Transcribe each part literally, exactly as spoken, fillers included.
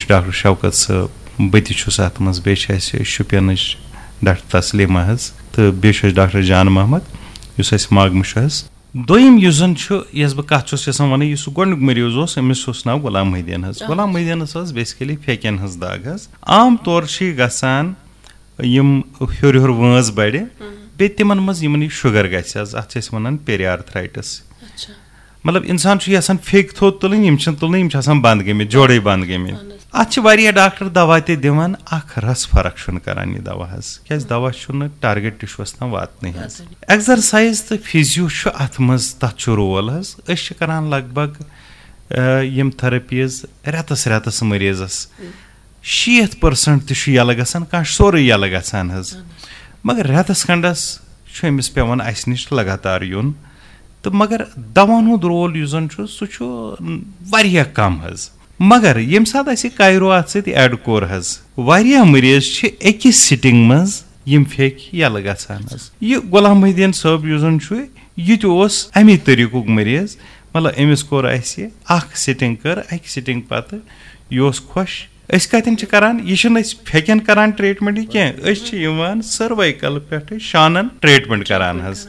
Doctor Shaukat صٲب، بہٕ تہِ چھُس اَتھ منٛز، بیٚیہِ چھِ اَسہِ شُپینٕچ ڈاکٹر تسلیمہ حظ، تہٕ بیٚیہِ چھُ اَسہِ ڈاکٹر جان محمد، یُس اَسہِ ماگمہٕ چھُ حظ۔ دوٚیِم یُس زَن چھُ، یۄس بہٕ کَتھ چھُس یَژھان وَنٕنۍ، یُس سُہ گۄڈٕنیُک مریض اوس، أمِس اوس ناو غلام محی الدین حظ۔ اَہَن حظ۔ غلام محی الدینَس ٲس basically پھیٚکٮ۪ن ہٕنٛز دگ حظ۔ عام طور چھِ یہِ گژھان یِم ہیوٚر ہیوٚر وٲنٛز بَڑِ، بیٚیہِ تِمَن منٛز یِمَن یہِ شُگر گژھِ حظ، اَتھ چھِ أسۍ وَنان پیریارتھرایٹس۔ اچھا۔ مطلب، اِنسان چھُ یَژھان پھیٚکۍ تھوٚد تُلٕنۍ، یِم چھِنہٕ تُلنٕے، یِم چھِ آسان بنٛد گٔمٕتۍ، جوڑے بنٛد گٔمٕتۍ۔ اَہَن حظ۔ اَتھ چھِ واریاہ ڈاکٹر دوا تہِ دِوان، اَکھ رَس فرق چھُنہٕ کران یہِ دوا حظ، کیٛازِ دوا چھُنہٕ ٹارگیٹ ٹِشوٗوَس تام واتنٕے حظ۔ واتنٕے۔ ایکزرسایز تہٕ فِزیو چھُ اَتھ منٛز، تَتھ چھُ رول حظ۔ أسۍ چھِ کران لگ بگ، آ، یِم تھراپیٖز رٮ۪تَس رٮ۪تَس مریضَس۔ شیٹھ پٔرسنٹ تہِ چھُ یَلہٕ گژھان، کانٛہہ چھُ سورُے یَلہٕ گژھان حظ۔ اہن حظ۔ مگر رٮ۪تَس کھنٛڈَس چھُ أمِس پٮ۪وان اَسہِ نِش لگاتار یُن۔ تہٕ مگر دَوہَن ہُنٛد رول یُس زَن چھُ، سُہ چھُ واریاہ کَم حظ۔ مگر ییٚمہِ ساتہٕ اَسہِ یہِ کایرو اَتھ سۭتۍ ایڈ کوٚر حظ، واریاہ مریض چھِ أکِس سِٹِنٛگ منٛز یِم پھیٚکۍ یَلہٕ گژھان حظ۔ یہِ غلام محی الدین صٲب یُس زَن چھُ، یہِ تہِ اوس اَمی طٔریٖقُک مریض۔ مطلب، أمِس کوٚر اَسہِ اَکھ سِٹِنٛگ کٔر، اَکہِ سِٹِنٛگ پَتہٕ یہِ اوس خۄش۔ أسۍ کَتٮ۪ن چھِ کَران؟ یہِ چھِنہٕ أسۍ پھیٚکٮ۪ن کَران ٹرٛیٖٹمٮ۪نٛٹ یہِ کینٛہہ، أسۍ چھِ یِوان سٔروایکَل پٮ۪ٹھٕ شانَن ٹرٛیٖٹمٮ۪نٛٹ کَران حظ۔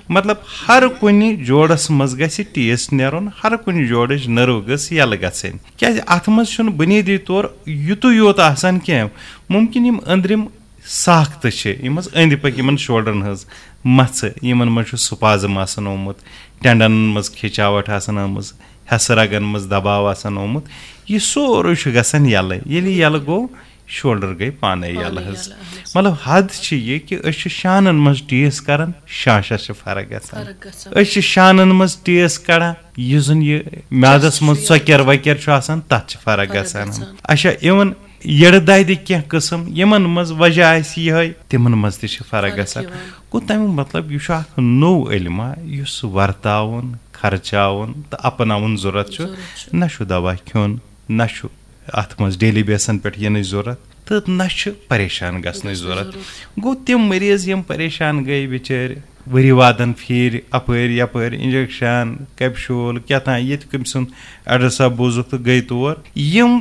مطلب، ہر کُنہِ جوڑَس منٛز گژھِ ٹیسٹ نیرُن، ہر کُنہِ جوڑٕچ نٔرٕو گٔژھ یَلہٕ گژھٕنۍ، کیٛازِ اَتھ منٛز چھُنہٕ بُنیٲدی طور یُتُے یوت آسان کینٛہہ۔ مُمکِن یِم أنٛدرِم ساختہٕ چھِ، یِم حظ أنٛدۍ پٔکۍ یِمَن شولڈرَن ہٕنٛز مَژھٕ، یِمَن منٛز چھُ سپازم آسان آمُت، ٹینڈنَن منٛز کھِچاوَٹھ آسان آمٕژ، حصہٕ رگن منٛز دباو آسان آمُت، یہِ سورُے چھُ گژھان یَلہٕ۔ ییٚلہِ یہِ یَلہٕ گوٚو، شولڈر گٔے پانے یَلہٕ پانے حظ۔ یَلہٕ، اہن حظ۔ مطلب، حد چھِ یہِ کہِ أسۍ چھِ شانن منٛز ٹیس کران، شانشس چھِ فرق گژھان۔ فرق گژھان۔ أسۍ چھِ شانن منٛز ٹیس کڑان، یُس زن یہِ میادس منٛز ژۄکیر وۄکیر چھُ آسان، تتھ چھِ فرق فرق گژھان۔ گژھان۔ اچھا، اِوٕن یٔڈٕ دادِ کینٛہہ قٕسم، یِمن منٛز وجہ آسہِ یِہوٚے، تِمن منٛز تہِ چھِ فرق فرق گژھان۔ یِوان۔ گوٚو، تمیُک مطلب، یہِ چھُ اکھ نوٚو علما، یُس ورتاوُن، خرچاوُن تہٕ اپناوُن ضروٗرت چھُ۔ ضروٗرت چھُ۔ نہ چھُ دوا کھیوٚن، نہ چھُ اتھ منٛز ڈیلی بیسن پٮ۪ٹھ یِنٕچ ضروٗرت تہٕ نہ چھُ پریشان گژھنٕچ گژھنٕچ ضروٗرت۔ ضروٗرت۔ گوٚو، تِم مریض یِم پریشان گٔے بِچٲرۍ، ؤری وادن پھیٖرۍ اپٲرۍ یپٲرۍ، انجیکشن، کیپشول، کیٛاہ تام، ییٚتہِ کٔمۍ سُنٛد ایڈرسا بوٗزُکھ تہٕ گٔے تور۔ یِم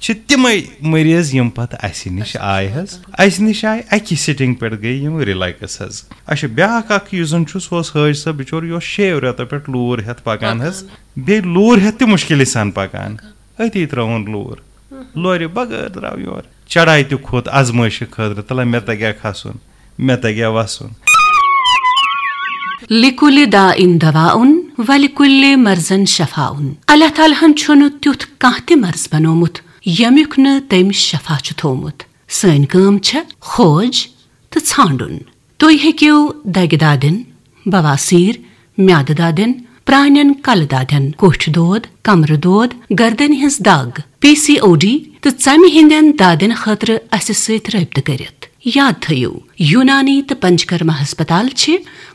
چھِ تِمے مریض یِم پتہٕ اسہِ نِش آے حظ۔ اسہِ نِش آے، اکی سٹنگ پٮ۪ٹھ گٔے یِم ریلیکس حظ۔ اچھا، بیاکھ اکھ یُس زن چھُ، سُہ اوس حٲج صٲب بِچور، یہِ اوس شیٚیو رٮ۪تو پٮ۪ٹھ لوٗر ہٮ۪تھ پکان حظ۔ پکان۔ بیٚیہِ لوٗر ہٮ۪تھ تہِ مُشکِلی سان پکان۔ پکان۔ أتی ترٲوُن لوٗر۔ لورِ بغٲر درٛاو یورٕ۔ چڑایہِ تہِ کھوٚت آزمٲیشہِ خٲطرٕ، تلہ مےٚ تگیا کھسُن، مےٚ تگیا وسُن۔ لِکُلِ داء دواء وَلِکُلِ مَرْضٍ شَفَاء۔ اللہ تعالیٰ ہن چھُنہٕ تیُتھ کانٛہہ تہِ مرض بنومُت، ییٚمیُک نہٕ تٔمۍ شفا چھُ تھوومُت۔ سٲنۍ کٲم چھےٚ کھوج تہٕ ژھانٛڈُن۔ تُہۍ ہیٚکِو دگہِ دادٮ۪ن، بواسیر، میادٕ دادٮ۪ن، پرٛانٮ۪ن کلہٕ دادٮ۪ن، کوٹھۍ دود، کمرٕ دود، گردنہِ ہٕنٛز دگ، پی سی او ڈی تہٕ ژمہِ ہٕنٛدٮ۪ن دادٮ۪ن خٲطرٕ اسہِ سۭتۍ رٲبطہٕ کٔرِتھ۔ یاد تھٲیِو، یونانی تہٕ پنچکرما ہسپتال چھِ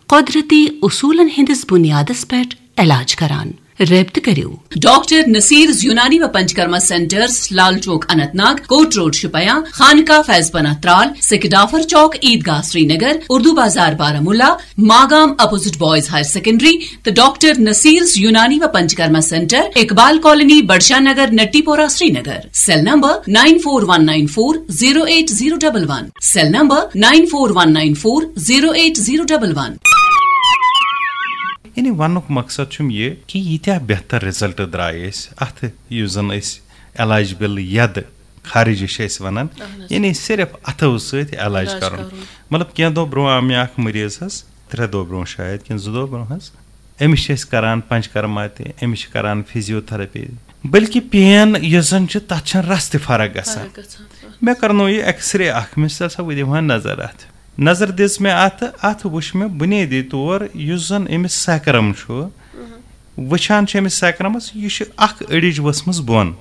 قۄدرتی اصوٗلن ہٕنٛدِس بُنیادس پٮ۪ٹھ علاج کران۔ رٲبطہٕ کٔرِو۔ ڈاکٹر نصیرز یونانی و Panchakarma centres, Lal Chowk Anantnag, Kot road Shopian, Khanqah Faiz Panah Tral, Sikh Dafar Chowk Eidgah Srinagar, Urdu Bazar Baramulla, Magam opposite boys higher secondary, تہٕ ڈاکٹر نصیرز یونانی و Panchakarma centre, Iqbal colony, Budshah Nagar, Natipora, Srinagar. Cell number nine four one nine four zero eight zero double one. Cell number nine four one nine four zero eight zero double one. یعنی وننُک مقصد چھُم یہِ کہِ ییٖتیٛاہ بہتر رِزلٹ درٛاے اَسہِ اَتھ، یُس زَن أسۍ علاج بِل یَدٕ خارجی چھِ أسۍ وَنان، اہن حظ۔ یعنی صرف اَتھو سۭتۍ علاج علاج کَرُن۔ کَرُن۔ مطلب، کینٛہہ دۄہ برونٛہہ آو مےٚ اَکھ مریض حظ، ترٛےٚ دۄہ برونٛہہ شاید کِنہٕ زٕ دۄہ برونٛہہ حظ، أمِس چھِ أسۍ کَران پنچکرما تہِ، أمِس چھِ کَران فزیوتھراپی، بلکہِ پین یۄس زَن چھِ، تَتھ چھَنہٕ رَس تہِ فرق گژھان۔ فرق گژھان۔ مےٚ کرنو یہِ ایکس رے اکھ، مےٚ سا وۄنۍ دِمہٕ ہا نظر اتھ۔ نظر دِژ مےٚ اتھ، اتھ وٕچھ مےٚ بُنیٲدی طور یُس زن أمِس سیکرم چھُ، وٕچھان چھِ أمِس سیکرمس، یہِ چھِ اکھ أڑِج ؤژھمٕژ بۄن۔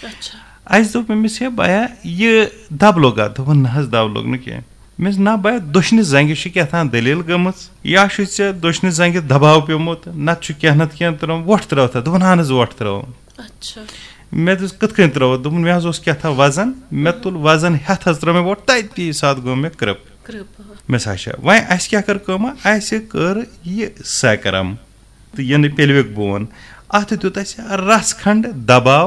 اچھا۔ اسہِ دوٚپ أمِس، "ہے بایا، یہِ دب لوٚگا؟" دوٚپُن، "نہ حظ، دب لوٚگ نہٕ کینٛہہ۔" مےٚ ووٚنُس، "نہ بایا، دٔچھنہِ زنٛگہِ چھِ کیٛاہ تام دٔلیٖل گٔمٕژ، یا چھُے ژےٚ دٔچھنہِ زنٛگہِ دباو پیوٚمُت، نتہٕ چھُ کینٛہہ نتہٕ کینٛہہ ترٛٲومُت، وۄٹھ ترٛٲوتھا؟" دوٚپُن، "اہن حظ، وۄٹھ ترٛٲوٕم۔" اچھا۔ مےٚ دوٚپُس، "کِتھ کٔنۍ ترٛٲوٕتھ؟" دوٚپُن، "مےٚ حظ اوس کیٛاہ تھام وزن، مےٚ تُل وزن ہٮ۪تھ حظ ترٛٲو مےٚ وۄٹھ، تَتی ساتہٕ گوٚو مےٚ کرٛپ۔" کرٛپ۔ مےٚ سا چھےٚ۔ وۄنۍ اَسہِ کیٛاہ کٔر کٲمہ؟ اَسہِ کٔر یہِ سیکرم تہٕ یہِ نہٕ پیلوِک بون، اَتھ دیُت اَسہِ رَژھ کھنٛڈ دباو۔